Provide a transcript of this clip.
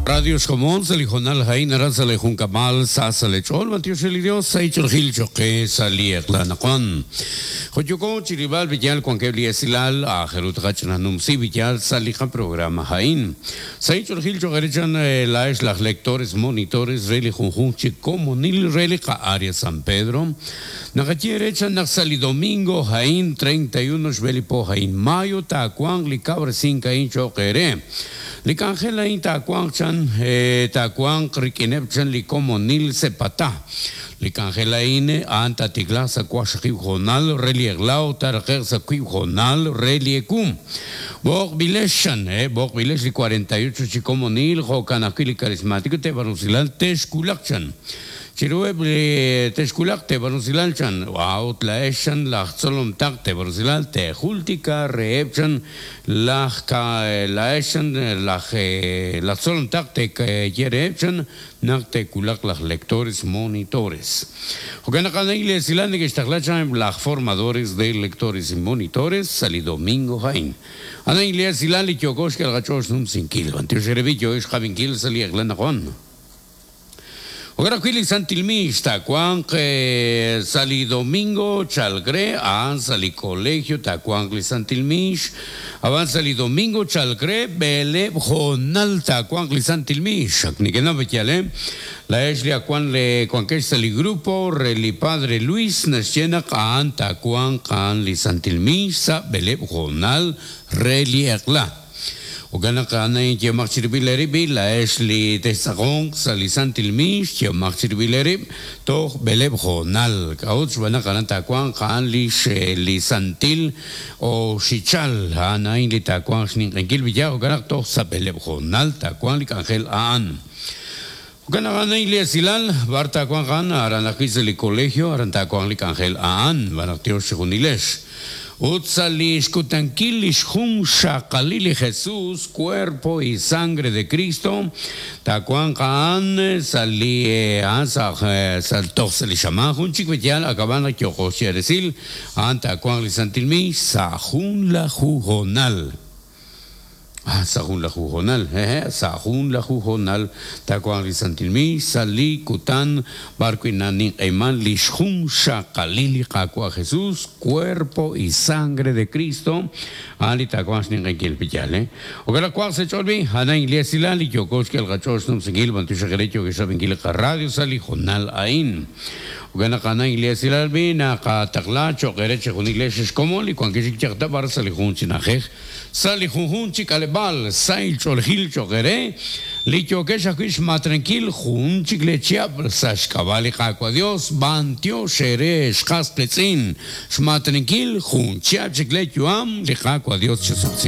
Radio xkomon sa' li hoonal a'in aran sa' lee junkab'al sa sa' lee ch'ool b'antiox re li Dios sa' ich'oolejil cho'q qe sa' li eq'la anaqwan. Jo' yooko chi rilb'al b'iyal wankeb' li esilal aajel ru tqach'ina numsi b'iyal sa' li qaprograma a'in. Sa' ich'oolejil cho'q eere chan laa'ex laj lectores monitores re li junjunq chi komonil re li qa'área San Pedro, naqaye eere chan naq sa' li domingo a'in 31 xb'e li po a'in mayo taawanq li kawresink a'in cho'q eere. Li k'anjel a'in taawanq chan taawanq rik'ineb' chan li komonil Sepatá. Li k'anjel a'in a'an taatiklaaq sa' waqxaqib' hoonal re li eq'la ut taaraqe'q sa' wiib' hoonal re li ewu. B'oqb'ilex chan, b'oqb'ilex li 48 chi komonil jo'kan ajwi' li Karismático teeb'al rusilal texwulaq chan. Chiruheb' li texwulaq teeb'al rusilal chan, a'ut laa'ex chan laj tzolom taq teeb'al rusilal teejultika reheb' chan Laj ka laa'ex chan laj laj tzolom taq te'ye reheb' chan naq te'wulaq laj lectores monitores. Jo'kan naq a'an li esilal neke'xtaqla chan eb' laj formadores de lectores y monitores sa' li domingo a'in. A'an li esilal li yooko xk'el qach'ool xnumsinkil. B'antiox eere b'i' yoohex xqab'inkil sa' li eq'la anaqwan. Jo'kan ajwi' li Santil Miix taawanq sa' li domingo chalk re, a'an sa' li colegio taawanq li Santil Miix, ab'an sa' li domingo chalk re b'eleeb' hoonal taawanq li Santil Miix. Ak nekenaw yaal, eh? Laa'ex li ak wan le wankex sa' li grupo re li Padre Luis naxye naq a'an taawanq a'an li Santil Miix sa' b'eleeb' hoonal re li eq'la. Jo'kan naq a'an a'in yehomaq chirib'il eerib' b'i', laa'ex li textz'aqonq sa' li santil miix, yehomaq chirib'il eerib' toj b'eleeb' hoonal. K'a'ut? Xb'aan naq aran taawanq a'an lix li santil oxichal. A'an a'in li taawanq xninq'ehinkil b'iyaj, jo'kan naq toj sa' b'eleeb' hoonal taawanq li k'anjel a'an. Jo'kan naq a'an a'in li esilal, b'ar taawanq a'an? Aran ajwi' sa' li colegio, aran taawanq li k'anjel a'an, b'an naq tiox chijunilex. Ut sa' li xkutankil li xjunxaqalil li Jesús, Cuerpo y Sangre de Cristo, taawanq a'an sa' li a'an sa' sa' toj sa' li xamaan jun chik b'eyal akab'an naq yooqo xye resil, a'an taawanq li Santil Miix sa' junlaju hoonal. Ah, sa' junlaju hoonal, hehe', sa' junlaju hoonal taawanq li Santil Miix sa' li kutan b'ar wi' naninq'ehiman lix junxaqalil li Qaawa' Jesus, Cuerpo y Sangre de Cristo, a'an li taawanq xninq'ehinkil pi yaal, eh. Jo'kan naq wanq sa' ch'ool b'i', a'an a'in li esilal li yooko xk'el qach'ool xnumsinkil b'antiox re yookex rab'inkil li qaradio sa' li hoonal a'in. Jo'kan naq a'an a'in li esilal b'i' naqataqla cho'q eere chejunilex ex komon li wankex chik yaq ta b'ar sa' li jun chi na'ajej. Sa' li junjunq chi k'aleb'aal sahil ch'oolejil cho'q eere, li yookex ajwi' xmaatrenkil jun chik lee chihab' sa' xk'ab'a' li Qaawa' Dios, b'antiox eere xqas qiitz'in xmaatrenkil jun chihab' chik lee yu'am, li Qaawa' Dios chesub'si.